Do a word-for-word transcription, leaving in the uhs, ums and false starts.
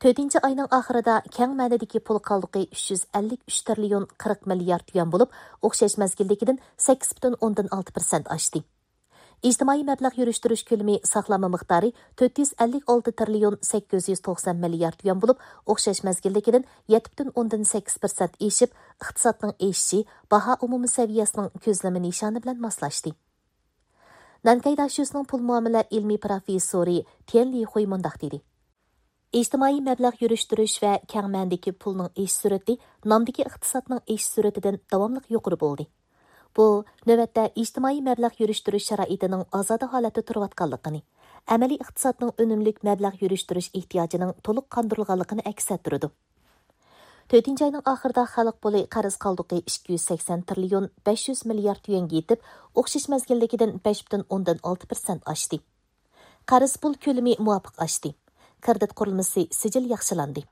تۆتىنچى ئاينىڭ ئاخىرىدا كەڭ مەنىدىكى پۇل قالدۇقى ئۈچ يۈز ئەللىك ئۈچ تىرىليون قىرىق مىليارد يۈەن بولۇپ، ئوخشاش مەزگىلدىكىدىن سەككىز پۈتۈن ئوندىن ئالتە پىرسەنت ئاشتى. ئىجتىمائىي مەبلەغ يۈرۈشتۈرۈش كۆلىمى ساقلانما مىقدارى تۆت يۈز ئەللىك ئالتە تىرىليون سەككىز يۈز توقسان مىليارد يۈەن بولۇپ، ئوخشاش مەزگىلدىكىدىن يەتتە پۈتۈن ئوندىن سەككىز پىرسەنت ئېشىپ، ئىقتىسادنىڭ ئېشىشى باھا ئومۇمىي سەۋىيەسىنىڭ كۆزلىمە نىشانى بىلەن ماسلاشتى. نەنكەي داشۆسىنىڭ پۇل مۇئامىلە ئىلمىي پروفېسسورى تيەن لىخۇي مۇنداق دېدى: ئىجتىمائىي مەبلەغ يۈرۈشتۈرۈش ۋە كەڭ مەنىدىكى پۇلنىڭ ئېشىش سۈرئىتى نامدىكى ئىقتىسادنىڭ ئېشىش سۈرئىتىدىن داۋاملىق يۇقىرى بولدى. بۇ، نۆۋەتتە ئىجتىمائىي مەبلەغ يۈرۈشتۈرۈش شارائىتىنىڭ ئازادە ھالەتتە تۇرۇۋاتقانلىقىنى، ئەمەلىي ئىقتىسادنىڭ ئۈنۈملۈك مەبلەغ يۈرۈشتۈرۈش ئېھتىياجىنىڭ تولۇق قاندۇرۇلغانلىقىنى ئەكس ئەتتۈرىدۇ. تۆتىنچى ئاينىڭ ئاخىرىدا خەلق پۇلى قەرز قالدۇقى ئىككى يۈز سەكسەن تىرىليون بەش يۈز مىليارد يۈەنگە يېتىپ، ئوخشاش مەزگىلدىكىدىن بەش پۈتۈن ئوندىن ئالتە پىرسەنت ئاشتى. قەرز پۇل كۆلىمى مۇۋاپىق ئاشتى. كىرېدىت قۇرۇلمىسى سىجىل ياخشىلاندى.